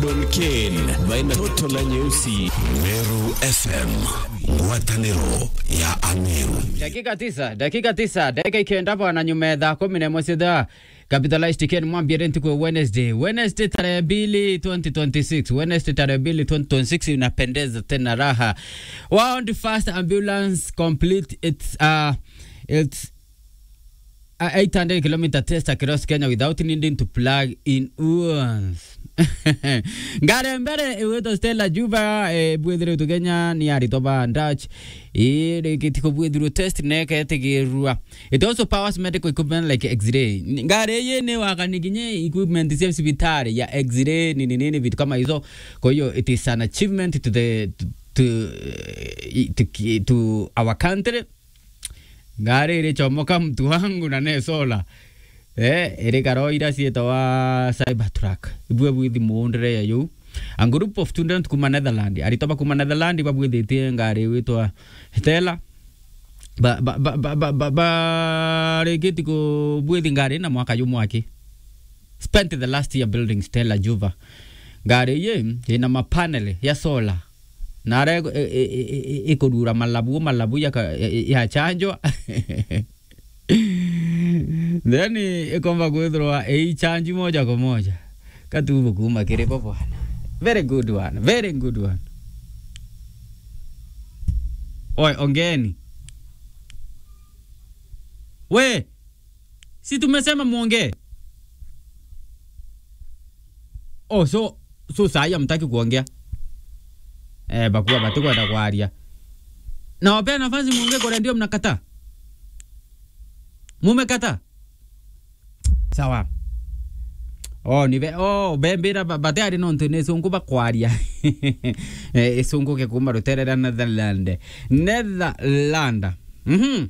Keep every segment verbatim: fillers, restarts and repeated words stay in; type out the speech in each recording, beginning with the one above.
Ken, baina toto na nyeusi. Meru F M, ngwataniro ya Ameru. Dakika tisa, dakika tisa, dakika ikenda bwana nyuma ya thaa kumi na imwe cia thaa. Capitalized Ken Mwambire ntuku ya Wednesday. Wednesday tarehe mbili, twenty twenty-six. Wednesday tarehe mbili, twenty twenty-six inapendeza tena raha. World first ambulance complete its, uh, its a eight hundred kilometer test across Kenya without needing to plug in wounds. Ngari mbere igwitwa Stella Juba, eh, bwithiritwe Kenya ni aritwa ba Dutch. Ii, rikiti kubwithirwa test na iketigirua. It also powers medical equipment like X-ray. Ngari ii ni wakani kinya equipment cia cibitari ya X-ray, nini nini, vitu kama hizo. Kwa hiyo, it is an achievement to the, to, to, eh, to, to our country. Ngari irichomoka mtu wangu na ne solar. Eh, iri karo ira cietawa Cybertruck. Ibue bwithi muundire ya yu. A group of students kuma Netherlands. Aritwa ba kuma Netherlands babwithitie ngari witwa Stella. Ba, ba, ba, ba, ba, ba, ba, rikiti kubwithi ngari na mwaka jumwe aki. Spent the last year building Stella Juva. Ngari ii ina mapanel ya solar. Na ara iku-, i-, i-, i-, i-, ikurura malabu, malabu ya ka-, ya, ya chanjwa. Then ikomba kwithirwa ii chanji moja kwa moja. Katubu kuma kiri bo bwana. Very good one. Very good one. Oi, ongeni. We, si tumesema muongee? Oh, so, so saa hii hamtaki kuongea? Eh, bakua batikwenda kwaria. Na wapea nafasi muongee, kwa ndio mnakataa? Mumekataa? Sawa. Oh, ni be-, oh, bembira ba-, bateari nontu ni sungu bakwaria. Eh, isungu ke kuma rutere rwa Netherland. Netherland. Mhm.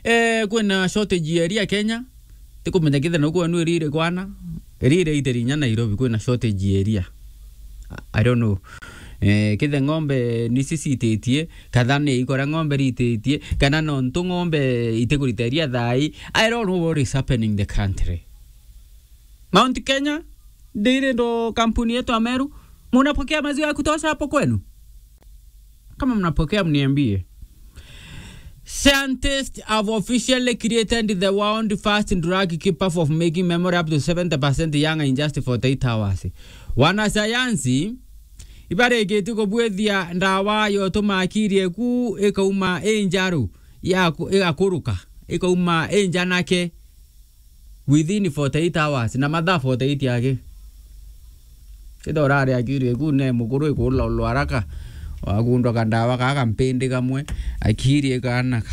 Eh, kwina shortage ya iria Kenya. Tikumenya kithe no kwenu irire kwana. Irire iteri inya Nairobi kwina shortage ya iria. I, I don't know. Eh, kithe ng'ombe ni cicititie, katha ni ikora ng'ombe rititie, kana nontu ng'ombe itikurita iria thai. I don't know what is happening in the country. Mount Kenya, ndiri ndo kampuni yetu ya Meru, munapokea maziwa ya kutosha hapo kwenu? Kama mnapokea, mniambie. Scientists have officially created the world first drug capable of making memory up to seventy percent younger in just forty-eight hours. Wanasayansi ibarikite kubwithia ndawa yotuma akiri eku ikauma injaru ya ku-, igakuruka, ikauma injanake within forty-eight hours, na mathaa forty-eight aki. Kida urari akiri eku ne mukuru ikulolwa haraka, wagundwa kandawa kaka mpindi kamwe, akiri ikanaka,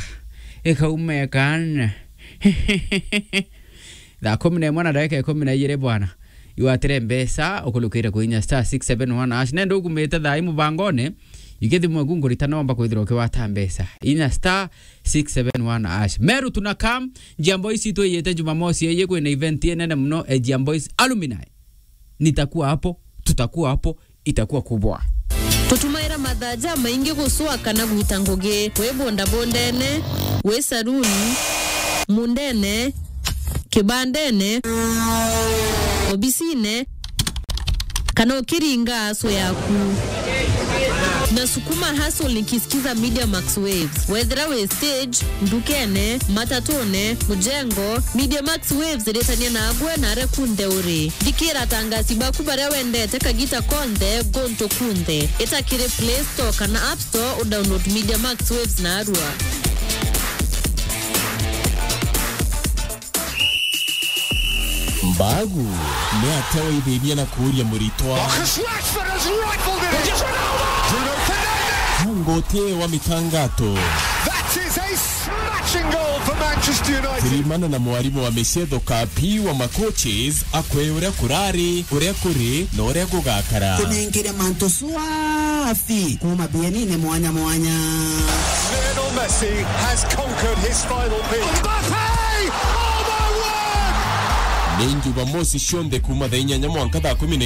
ikauma ikana. Thaa kumi na imwe na ndagika ikumi na ijiri bwana. Iwatire mbeca, ukulukire kuinya star six seven one hash. Nenda ukumite thaa ii mubangone, ikithimwe ku ngurita nomba kwithirwa ukiwata mbeca. Inya star six seven one hash. Meru tuna come, Jia Boys itwiyite Jumamosi ii kwina event inene muno, e Jia Boys Alumni. Nitakuwa hapo, tutakuwa hapo, itakuwa kubwa. Tutumaira mathaa jamaingi gucua kana gwita ngugi, wi bondabondene, wi saruni, mundene, kibandene, obisine, kana ukiringa aso yaku. Na sukuma hustle nikisikiza Media Max Waves. Wethira wi stage, ndukene, matatune, mujengo, Media Max Waves iritania nagwe na aria kunthe uri. Thikira atangasi baku baria wendete kagita konthe, guntu kunthe. Ita kiri Play Store kana App Store, udownload Media Max Waves narua. Mbagu ni atia waithirie na kuuria muritwa? Marcus Rashford has rifled it in. Bruno Fernandes. Ngoti wa mitangato. That is a smashing goal for Manchester United. Sirimana na mwarimu wa micetho Kapi wa macoaches akwe uria kurari, uria kuri, na uria gugakara. Kunengire mantu swafi kuma bienine mwanya mwanya. Lionel Messi has conquered his final peak. Mbappe! Oh my word! Ni Jumamosi cionthe kuma thaa inyanya mwanka thaa kumi na